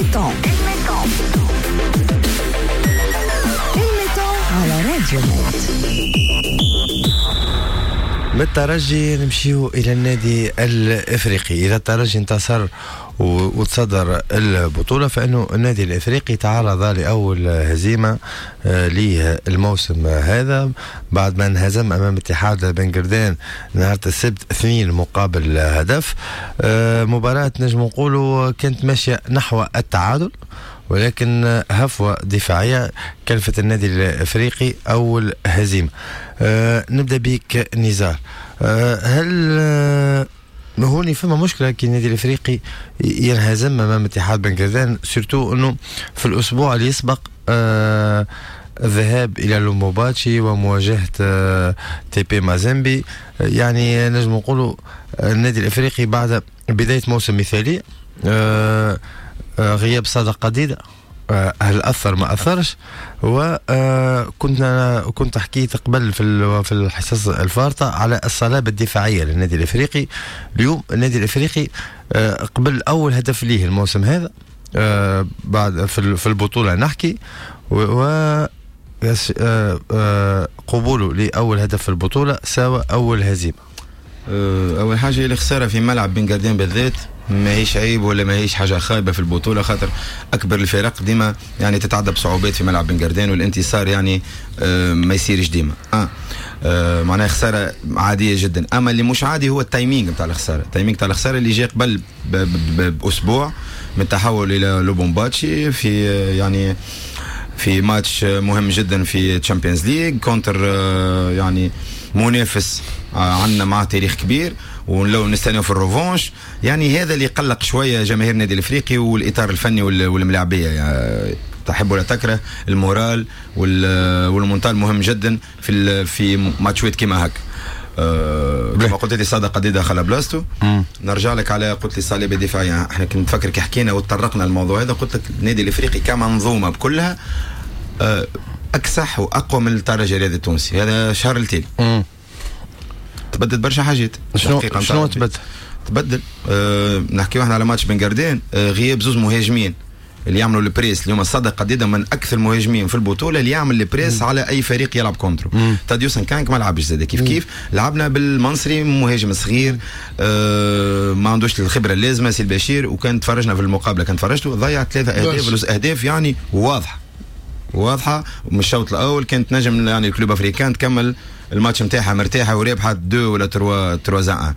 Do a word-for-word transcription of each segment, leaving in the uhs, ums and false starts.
ال mi-temps، ال mi-temps على راديو ميد. من الترجي نمشيو الى النادي الافريقي. اذا الترجي انتصر وتصدر البطوله، فانه النادي الافريقي تعرض لاول هزيمة آه، ليه الموسم هذا بعد ما انهزم امام اتحاد بن قردان نهار السبت اثنين مقابل هدف. آه، مباراة نجم نقولوا كانت ماشية نحو التعادل، ولكن هفوة دفاعية كلفت النادي الافريقي اول هزيمه. أه نبدا بك نزار، أه هل أه هوني فما مشكلة كي النادي الافريقي ينهزم امام اتحاد بن قردان، surtout انه في الاسبوع اللي يسبق أه الذهاب الى لوموباتشي ومواجهة أه تي بي مازيمبي؟ يعني نجم نقولوا النادي الافريقي بعد بداية موسم مثالي، أه غياب صادق قديدة آه، هل اثر ما اثرش؟ وكنت كنت حكيت قبل في في الحصص الفارطه على الصلابة الدفاعية للنادي الافريقي. اليوم النادي الافريقي آه، قبل اول هدف ليه الموسم هذا آه، بعد في البطولة نحكي، و قبوله لاول هدف في البطولة ساوى اول هزيمه. اول حاجه، الخسارة في ملعب بن قردان بالذات ماهيش عيب ولا ماهيش حاجة خايبة في البطوله، خاطر اكبر الفرق ديما يعني تتعدى بصعوبات في ملعب بن قردان، والانتصار يعني آه ما يصيرش ديما. آه. آه معناها خسارة عادية جدا. اما اللي مش عادي هو ال timing نتاع الخساره، ال timing نتاع الخسارة اللي جاء قبل باسبوع من التحول الى لوبومباتشي في يعني في ماتش مهم جدا في Champions League contre يعني منافس عندنا معاه تاريخ كبير ولو نستناو في ال revanche. يعني هذا اللي قلق شوية جماهير النادي الافريقي والاطار الفني والملاعبيه. يعني تحب ولا تكره، ال moral وال mental مهم جدا في في ماتشات كيما هكا. أه كما قلت لي، صادق قديدة خلا بلاصتو. نرجع لك على قلت لي صلابة دفاعيه. احنا كنت نفكر كي حكينا وتطرقنا الموضوع هذا، قلت لك النادي الافريقي كمنظومة بكلها أه اكسح واقوى من الترجي الرياضي التونسي. هذا شهر التالي تبدلت برشا حاجات. شنو شنو تبدل؟ تبدل أه نحكيو احنا على ماتش بن قردان، أه غياب زوز مهاجمين اللي يعملوا ال press. اليوم صادق قديدة من اكثر المهاجمين في البطولة اللي يعمل ال press على اي فريق يلعب contre و. تاديوس كانك ما لعبش زاد كيف كيف. لعبنا بالمنصري، مهاجم صغير آه ما عندوش الخبرة اللازمه، سي البشير. وكان تفرجنا في المقابله، كان تفرجتوا، ضيع ثلاثة اهداف، اهداف يعني واضحة واضحه. ومن الشوط الاول كانت نجم يعني ال Club Africain تكمل الماتش نتاعها مرتاحة ورابحه اثنين ولا ثلاثة ثلاثة واحد.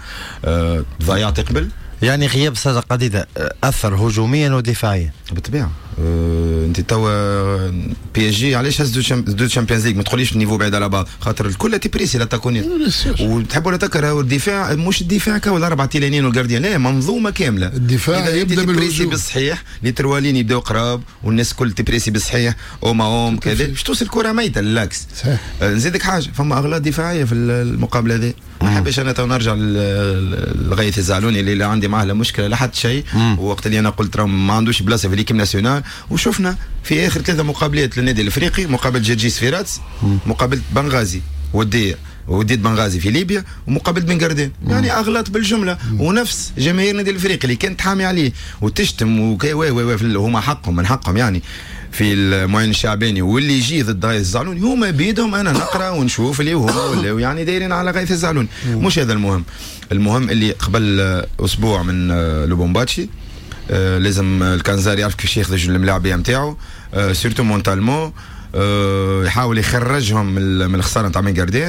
ضيعت قبل. يعني غياب صادق قديدة اثر هجوميا ودفاعيا. بالطبيعه. أه انت توا PSG علاش هز deux Champions League؟ ما تقوليش ال niveau بعيد على بعض، خاطر الكل تبريسي l'attaquant وتحب ولا تكره. الدفاع مش الدفاع كهو، الاربعة تيلانين وال gardien، لا، منظومة كامله. الدفاع يبدا بالهجوم بالصحيح، les trois lignes يبداو قراب والناس الكل تبريسي بالصحيح، homme à homme كذا، باش توصل الكره ميته لل axe. صحيح. أه نزيدك حاجه، فما اغلاط دفاعية في المقابلة هذه. ما نحبش انا تو نرجع لغيث الزعلوني اللي لا عندي معاه لا مشكلة لا حتى شيء، وقت اللي انا قلت راه ما عندوش بلاصة في l'équipe nationale. وشفنا في اخر ثلاثة مقابلات للنادي الافريقي: مقابله جرجيس في رادس، مقابله بنغازي وديه وديت بنغازي في ليبيا، ومقابله بن قردان. يعني اغلاط بالجمله. ونفس جماهير النادي الافريقي اللي كانت حامي عليه وتشتم وكي و و هما حقهم، من حقهم يعني في المعين الشعباني واللي يجي ضد غيث الزعلوني، هما بيدهم. انا نقرا ونشوف اللي هما ولاو يعني دايرين على غيث الزعلوني. مش هذا المهم. المهم اللي قبل اسبوع من لوبومباتشي آه لازم الكنزاري يعرف كيفاش ياخذ الملاعبيه نتاعو، آه surtout mentalement، آه يحاول يخرجهم من الخسارة نتاع بن قردان.